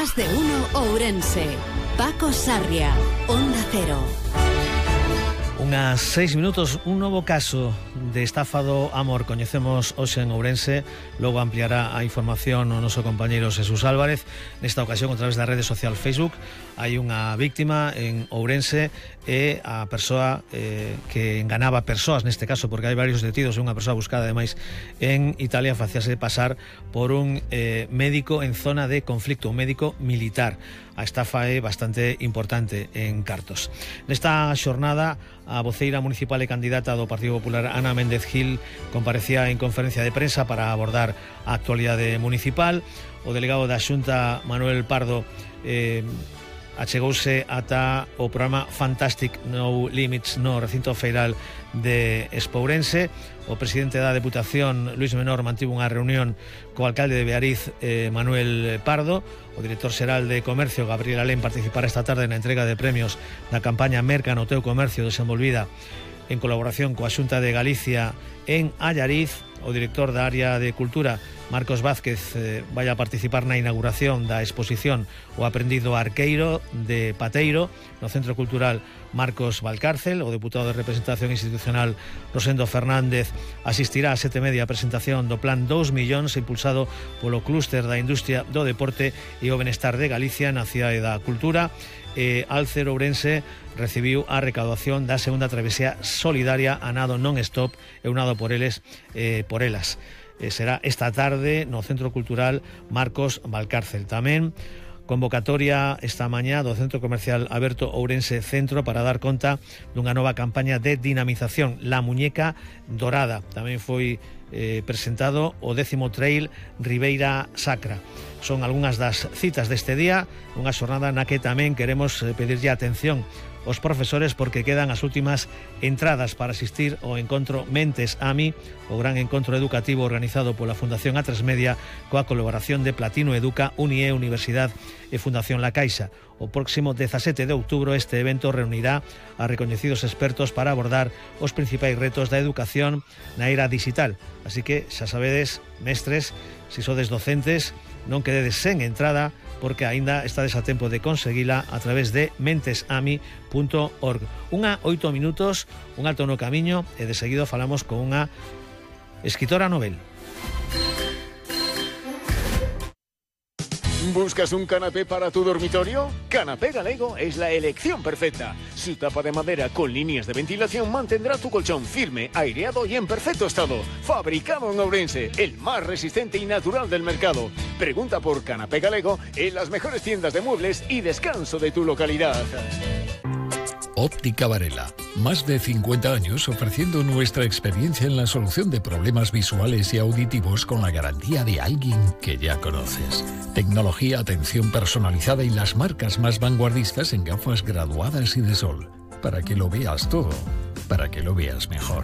Más de uno Ourense. Paco Sarria, Onda Cero. Unhas 6 minutos, un novo caso de estafa do amor coñecemos hoxe en Ourense. Logo ampliará a información o noso compañeiro Jesús Álvarez. Nesta ocasión, a través da rede social Facebook, hai unha víctima en Ourense e a persoa que enganaba persoas, neste caso porque hai varios detidos, unha persoa buscada ademais en Italia, facíase pasar por un médico en zona de conflicto, un médico militar. A estafa é bastante importante en Cartos. Nesta xornada, a voceira municipal e candidata do Partido Popular, Ana Méndez Gil, comparecía en conferencia de prensa para abordar a actualidade municipal. O delegado da Xunta, Manuel Pardo, achegouse ata o programa Fantastic No Limits no recinto feiral de Espourense. O presidente da Deputación, Luis Menor, mantivo unha reunión co alcalde de Beariz, Manuel Pardo. O director xeral de Comercio, Gabriel Alén, participará esta tarde na entrega de premios da campaña Merca no teu comercio, desenvolvida en colaboración coa Xunta de Galicia en Allariz. O director da área de Cultura, Marcos Vázquez, vai a participar na inauguración da exposición O aprendido arqueiro de Pateiro no Centro Cultural Marcos Valcárcel. O deputado de Representación Institucional, Rosendo Fernández, asistirá a 7:30 a presentación do Plan 2 millóns impulsado polo clúster da industria do deporte e o benestar de Galicia na cidade da cultura. Alcer Ourense recibiu a recaudación da segunda travesía solidaria a nado non-stop e un nado por eles por elas. Será esta tarde no Centro Cultural Marcos Valcárcel. Tamén convocatoria esta mañá do Centro Comercial Aberto Ourense Centro para dar conta dunha nova campaña de dinamización, La Muñeca Dorada. Tamén foi presentado o 10º Trail Ribeira Sacra. Son algunhas das citas deste día, unha xornada na que tamén queremos pedirlle atención aos profesores porque quedan as últimas entradas para asistir ao encontro Mentes AMI, o gran encontro educativo organizado pola Fundación A3 Media coa colaboración de Platino Educa, UNIE, Universidad e Fundación La Caixa. O próximo 17 de outubro este evento reunirá a recoñecidos expertos para abordar os principais retos da educación na era digital. Así que, xa sabedes, mestres, se sodes docentes, non quededes sen entrada porque aínda estades a tempo de conseguila a través de mentesami.org. Unha 8 minutos, un alto no camiño e de seguido falamos con unha escritora novel. ¿Buscas un canapé para tu dormitorio? Canapé Galego es la elección perfecta. Su tapa de madera con líneas de ventilación mantendrá tu colchón firme, aireado y en perfecto estado. Fabricado en Ourense, el más resistente y natural del mercado. Pregunta por Canapé Galego en las mejores tiendas de muebles y descanso de tu localidad. Óptica Varela. Más de 50 años ofreciendo nuestra experiencia en la solución de problemas visuales y auditivos con la garantía de alguien que ya conoces. Tecnología, atención personalizada y las marcas más vanguardistas en gafas graduadas y de sol. Para que lo veas todo, para que lo veas mejor.